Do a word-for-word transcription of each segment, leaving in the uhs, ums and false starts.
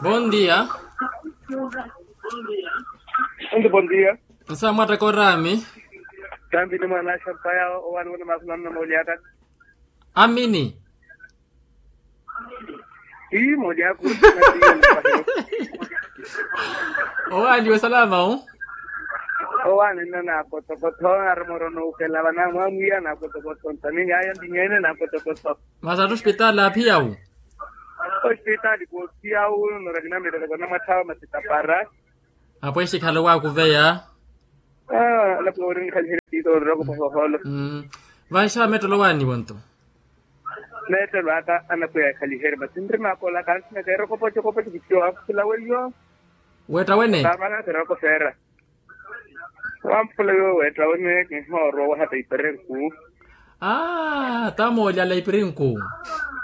Bondia. Bondia. Nsa mwattaka oraami. Tambi ni mwanasha mpaya. Owani wona makhulano na mauli aka. Amini. Ii molyaka. Owaaliwe salama o. Owaani nna naakotokotho arumorono ukela vanamwamwiya naakotokotho ntaninyayo ndinyeene naakotokotho. Masi atthu ospitaali aaphiya wu? Ospitaali koophiya wu. Norakinamileleko namwatthawa masi tapara. Apweshi khale waakuveya. Alapo ori nikhaliherye tiito onrokopa hoholo. Vanxawa mettelo waaniwo nto. Mettelo aka anapweya ekhaliherye masi nri maakola kansinaka erokopocokopoco kitiyo wakhula weiyo. Wetta wene? Taavana kirokoseera. Wamphula yo wetta wene kinhoorwa wahata iperenku. Aa ta mooli ala ipirinku.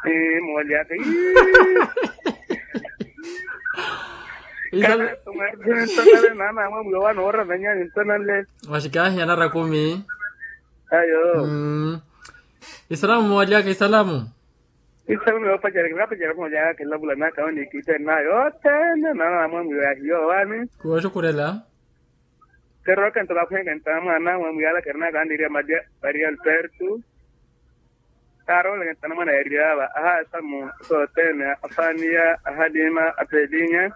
Ee mooli aka. Isala. Ntonale naana amwe mwiyo wanoora vanyani ntonale. Waxikahi anara kumi. Ayo. Isalamu mooli aka isalamu. Isalamu yoopacerya kinapacerya mooli aka kilavula naka onikitte nayo othene naana amwe mwiyo yahiyo wani. Kuwoxukhurela. Kerooka nto vakhwenke nto amwaana amwe mwiyo ala kerinaaka aniriya maria alberto. Kaarooleke nto anamwaana yariyaava ahasamu sothene afaniya ahaliima apelinya.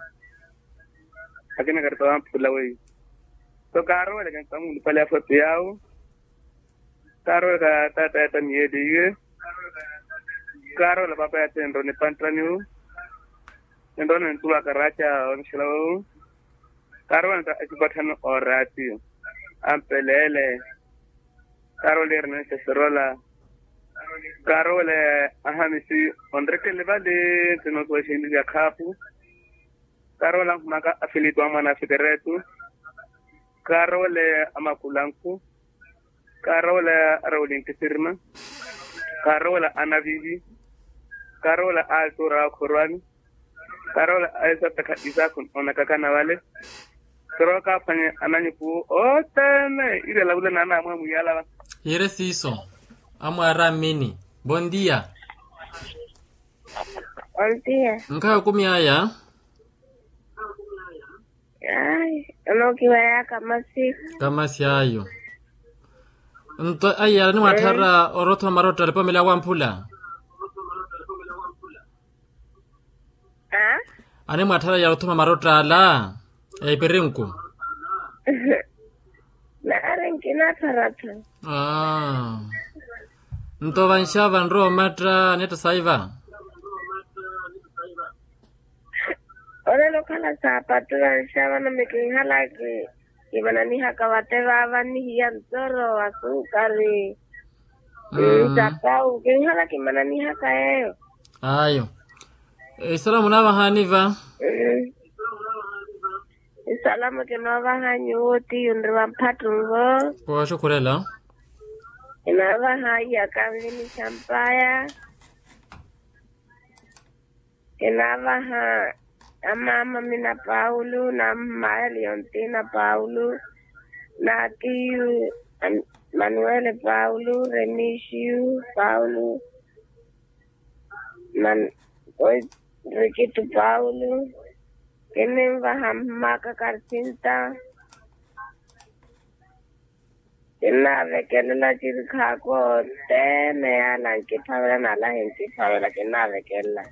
Akina karita wamphula weiyo. So kaarooleke nto amuulupale afwepi yawo. Kaarooleka taata yata miyeliye. Kaaroola paapa yata enroni panttaniwu. Enroni ntuwa karaca onixela wewu. Kaaroola nta asipatthani oraatiyo ampeleele. Kaaroola irinense sirola. Kaaroola ahamisi onrekele vale. Ntinosuwa exinlilya khaapu. Kaaroola ankhumaka afilitu amwana afikeretu. Kaaroola amakulanku. Kaaroola arawulinki sirima. Kaaroola anavivi. Kaaroola altura wakhorwani. Kaaroola aisapekha isaku onakakana vale. Sirooka aphwanye ananyuku othene iri alavule naana amwe mwiyo alava. Yire siiso. Amwaara amini. Bondia. Ontiya. Nkhayi okumi aya. Ai onookiwaya kamasi. Kamasi ayo. Nto ayi ara nimwatthara orothoma marotta alipomela wamphula. Aa. Animwatthara ya othoma marotta ala ya ipirinku. Naari nkinatharattha. Aa. Nto vanxava nrowa omatta anetta saiva. Olelo okhala saapattu vanxava nami kinhalaki. Kimananihaka vate vaava nihiya ntoro asukari. Sapau kinhala kimananihaka yeeyo. Ayo. Isalamu naavahani va. Isalamu kinoovaha nyuwo tiyu nri vamphattungo. Kooxukhurela. Kinoovaha iyaka nvini xampaya. Kinaavaha amaama mina paulo na mmaaya liontina paulo na tiyu manuwele paulo remisiyu paulo na rikito paulo. Kininvaha mmaaka karsinta. Kinnaavekelela cirikhaako othene yaala nkiphavela n'ala hinkiphavela kinnaavekelela.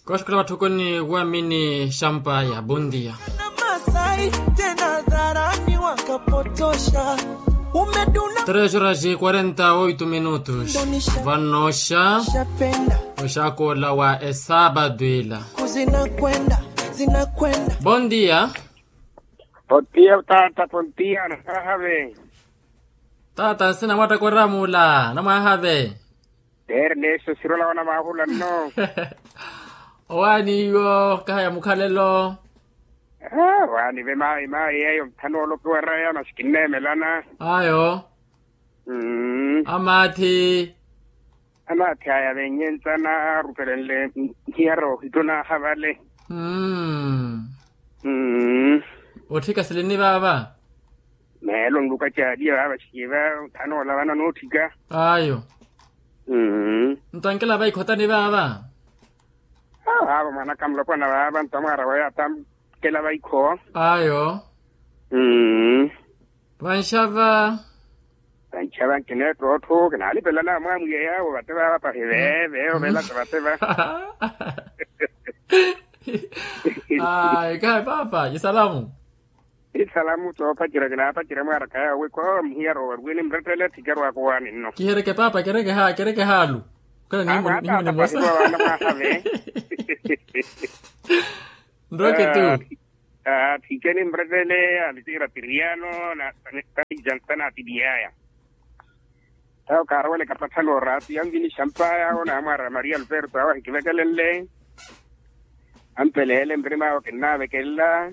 Kooxukhula vatthukuni waamini xampaya bondia. Tres horas e quarenta oito minutos. Vanooxa oxakola wa esaabado ila. Bondia. Pontiya taata pontiya anamwahave. Taata nsina mwattaka oramula anamwahave. Ernesto sirola wanamwahula nno. Owaani iwo kaha ya mukhalelo. Waani ve maayi maayi eyo nthano olopiwa raya masi kinneemelana. Ayo. Amaathi. Anaathi aya veenyentsa naarupelenle nhiyara ohitto naaha vale. Otthika silini vaava. Meelo nluka caaliya vaava cikiva. Thanoola vana nootthika. Ayo. Nto ankela vaikhotani vaava. Aavo mwanaka mulopwana vaava ntamwaara weya atamkela vaikho. Ayo. Mm. Vanxava. Vanxava nkineettotthu kinaanipelana mwaamwiya yaawo vate vaava pahi veve ovelaka vate va. Ai kahi paapa isalamu. Isalamu toopacerya kinaapacerya mwaaraka yaawo wi koomuhiyarwa waruweni mrettele thikerwaka owaani nno. Kihereke paapa kereke haalu. Kala nimwe nimwe nimwe. Nroke tu. Athikeni mrettele alitiira piriyano na. Tanatiliyaaya. Tawo kaaroweleka pathalo oraatu yanvinixa mpaya awo naamwaara maria alberto awo ahikivekelenle. Ampeleele mrima awo kinnaavekelela.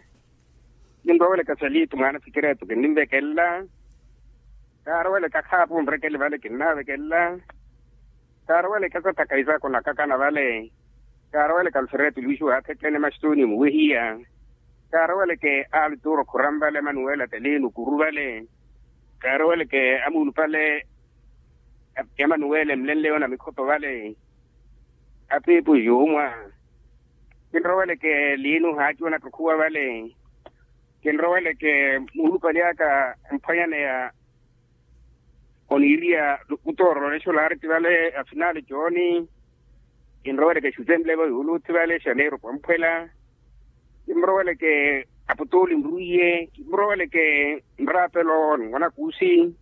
Kinroweleka salitu mwaana sikireetu kinnimvekelela. Kaaroweleka khaapu nrekele vale kinnaavekelela. Kaaroweleka sathaka isaku nakakana vale. Kaaroweleka alfereto luisu aathetene maxituni muwehiya. Kaaroweleke alituro khuran vale manuwela telinu kuru vale. Kaaroweleke amuulupale ya manuwela emulenleyo na mikhoto vale. Apiipu yuumwa. Kinroweleke liinu haaciwa na tukhuwa vale. Kinroweleke muulupale aka emphwanyaneya oniiriya kutoorora olexo laariti vale afinali jooni. Kinroweleke xutenlevo yuuluuthi vale xaneeru pwamphwela. Kinroweleke aputuli nruiye kinroweleke nraapelo ni mwana kuusi.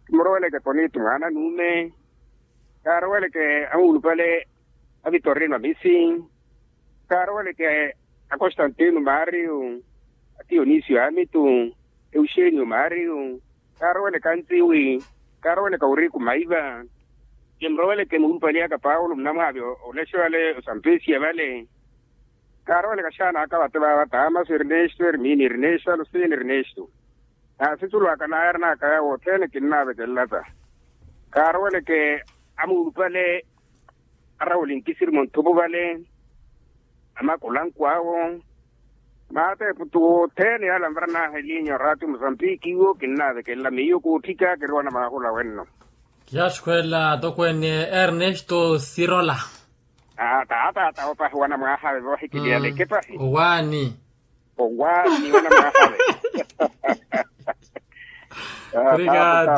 Kinroweleke tonito mwaana nuume. Kaaroweleke amuulupale avitorino amisi. Kaaroweleke akostantino maariyo. Atiyonisio amitu euxenio maariyo. Kaaroweleka ntsiwi. Kaaroweleka uriku maiva. Kimuroweleke muulupale aka paulo munamwaavi olexo vale osampesiya vale. Kaaroweleka xaana aka vate vaava tamaso ernesto ermini ernesto alusini ernesto. Naasitulu aka naayarina aka yaawo othene kinnaavekelela ta. Kaaroweleke amuulupale arawuli nkisiri munthupu vale. Amakulanku awo. Maateepu tu othene yaala nvaranaaha elinya oraati musambiki iwo kinnaavekelela miyo kuutthika kiriwana maahula wenno. Kiyaxukhwelela atokweene ernesto sirola. Taata owo pahi owana mwaahave voohikiliyaleke pahi. Owaani. Owaani owana mwaahave. Obrigado.